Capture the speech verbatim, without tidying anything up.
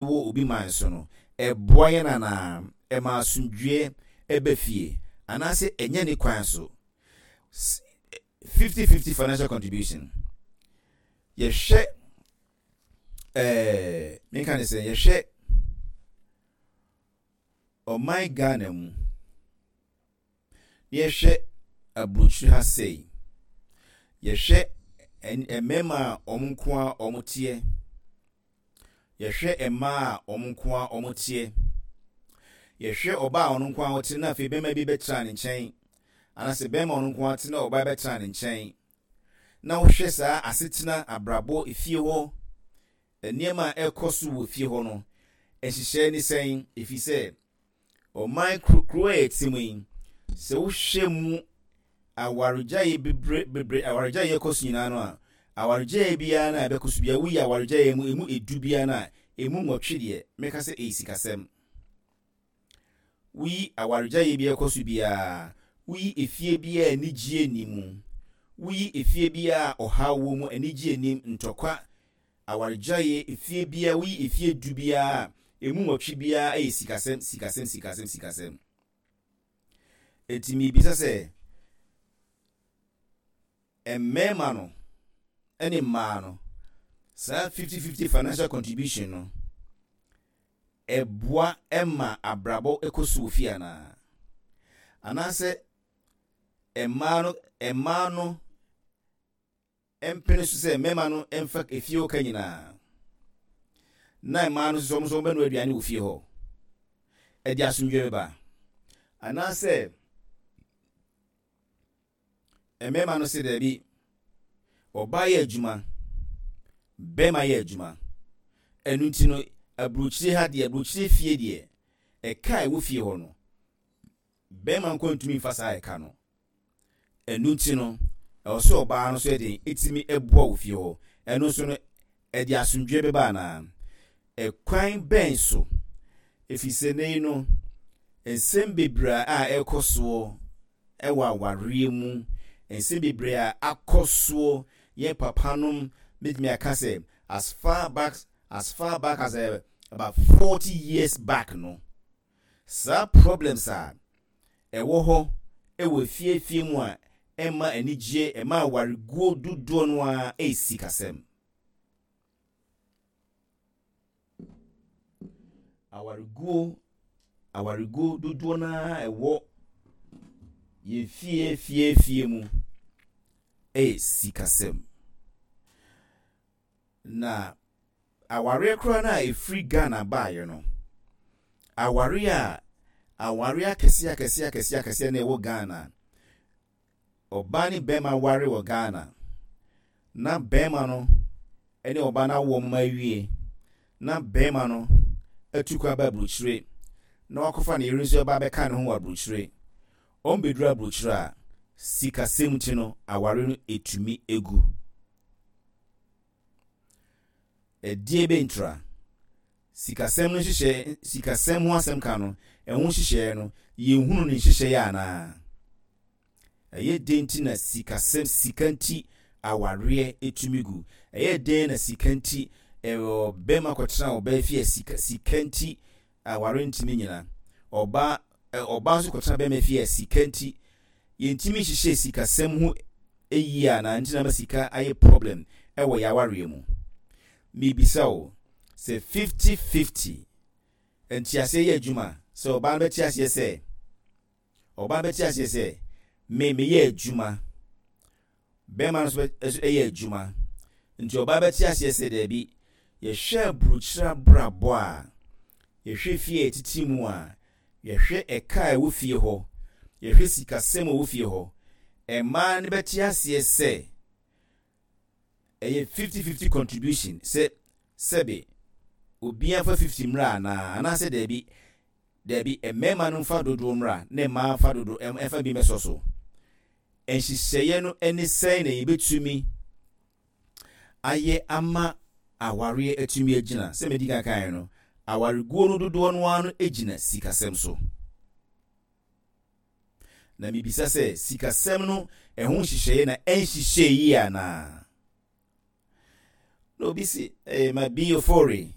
Wɔ obi man so no, ɛboa yɛn anaa? Ɛma asomdwoeɛ ɛba fie anaasɛ ɛnyɛ ne kwan so? fifty fifty financial contribution, yɛhwɛ ɛɛ menka ne sɛ yɛhwɛ ɔman Ghana mu na yɛhwɛ aburokyire ha sei, yɛhwɛ mmarima a wɔn nko a wɔn teɛ, yɛhwɛ mmaa a wɔn nko a wɔn teɛ, yɛhwɛ ɔbaa a ɔno nko a ɔte na afei bɛrima bi bɛtena ne nkyɛn, anaasɛ bɛrima ɔno nko a te na ɔbaa bɛtena ne nkyɛn, na wohwɛ saa asetena, abrabɔ, efie hɔ, nneɛma a ɛkɔ so wɔ fie hɔ no, nhyehyɛe ne sɛn? Efi sɛ ɔman kuro a yɛte mu yi, sɛ wohwɛ mu awaregyaeɛ bebree bebree, awaregyaeɛ kɔ so nyinaa no a, awaregyaeɛ biara no a ɛbɛkɔ so biara, woyi awaregyaeɛ mu emu edu biara no a, emu nwɔtwe deɛ, mɛka sɛ ɛyɛ sikasɛm. Woyi awaregyaeɛ bi ɛkɔ so biara, woyi efie biara anigye ni mu, woyi efie biara ɔhaw wɔ mu, anigye nim, ntɔkwa, awaregyaeɛ, efie biara, woyi efie du biara, emu nwɔtwe biara ɛyɛ sikasɛm, sikasɛm, sikasɛm, sikasɛm. Eti miribisa sɛ mmarima no ɛne mmaa no, saa fifty fifty financial contribution no, ɛboa ɛma abrabɔ ɛkɔ so wɔ fie anaa? Anaasɛ mmaa no mmaa no mpene so sɛ mmarima no mfa efie hɔ ka nyinaa, na mmaa no nso wɔn nso wɔbɛnoa aduane wɔ fie hɔ, ɛde asomdwe bɛba? Anaasɛ mmarima no sɛ daabi, ɔbaa yɛ adwuma, bɛrima yɛ adwuma, ɛno nti no aburokyire ha deɛ, aburokyire fie deɛ, ɛka a ɛwɔ fie hɔ no, bɛrima nko ntumi nfa saa ɛka no, ɛno nti no ɛwɔ sɛ ɔbaa no nso yɛ den ɛtumi ɛboa wɔ fie hɔ, ɛno nso no ɛde asomdwe bɛba anaa? Ɛkwan bɛn so? Ɛfiri sɛ ne yi no, nsɛm bebree a ɛrekɔ soɔ ɛwɔ awareɛ mu, nsɛm bebree a akɔ soɔ, yɛn papanom, bɛtumi aka sɛ as far back as far back as uh, about forty years back no, saa problems a ɛwɔ hɔ ɛwɔ fiefie mu a ɛma anigye, ɛma awareguo dodoɔ no a, ɛyɛ sikasɛm. Awareguo awareguo dodoɔ no a ɛwɔ yɛn fie fie fie mu ɛyɛ sikasɛm. Na awareɛ koraa no a ɛfiri Ghana baeɛ no, awareɛ a awareɛ akɛseɛ akɛseɛ akɛseɛ akɛseɛ na ɛwɔ Ghana, ɔbaa ne bɛrima ware wɔ Ghana, na bɛrima no ne ɔbaa no awo mma awie, na bɛrima no atu kwan ba aburokyire na wakɔfa ne yere nso ɛba abɛka ne ho wɔ aburokyire, wɔn bɛduru aburokyire a, sikasɛm ti no aware no etumi egu. Ɛdeɛ bɛntura sikasɛm no nhyehyɛ, sikasɛm ho asɛm ka no, ɛho nhyehyɛeɛ no, yɛnhunu ne nhyehyɛeɛ anaa? Ɛyɛ den nti na sikasɛm, sika nti awareɛ etumi gu? Ɛyɛ den na sika nti ɛwɔ bɛrima kɔtena ɔbaa fie a, sika sika nti aware ntumi nyina? Ɔbaa ɔbaa nso kɔtena bɛrima fie a, sika nti yɛntumi nhyehyɛ sikasɛm ho yie anaa? Nti na ma sika ayɛ problem ɛwɔ yɛ awareɛ mu. Miribisa o, sɛ fifty fifty ntiaseɛ yɛ adwuma, sɛ ɔbaa no bɛte aseɛ sɛ ɔbaa bɛte aseɛ sɛ me meyɛ adwuma, bɛrima no nso yɛ adwuma, nti ɔbaa bɛte aseɛ sɛ daabi, yɛhwɛ aburokyire abrabɔ a, yɛhwɛ fie a yɛtete mu a, yɛhwɛ ɛka a ɛwɔ fie hɔ, yɛhwɛ sikasɛm a ɛwɔ fie hɔ, mmaa no bɛte aseɛ sɛ ɛyɛ fifty fifty contribution, sɛ sɛbe obiara fa fifty mmra anaa? Anaasɛ daabi daabi, mmarima no mfa dodoɔ mmra na mmaa mfa dodoɔ, ɛmfa bi mɛsɔ so? Nhyehyɛeɛ no ne sɛn na yɛbɛtumi ayɛ ama awareɛ atumi agyina? Sɛ medi kan kan no, awareguo no dodoɔ no ara no gyina sikasɛm so, na mibisa sɛ sikasɛm no ɛho nhyehyɛeɛ na ɛnhyehyɛ yie anaa? Na obi si ɛɛ ma bi ofori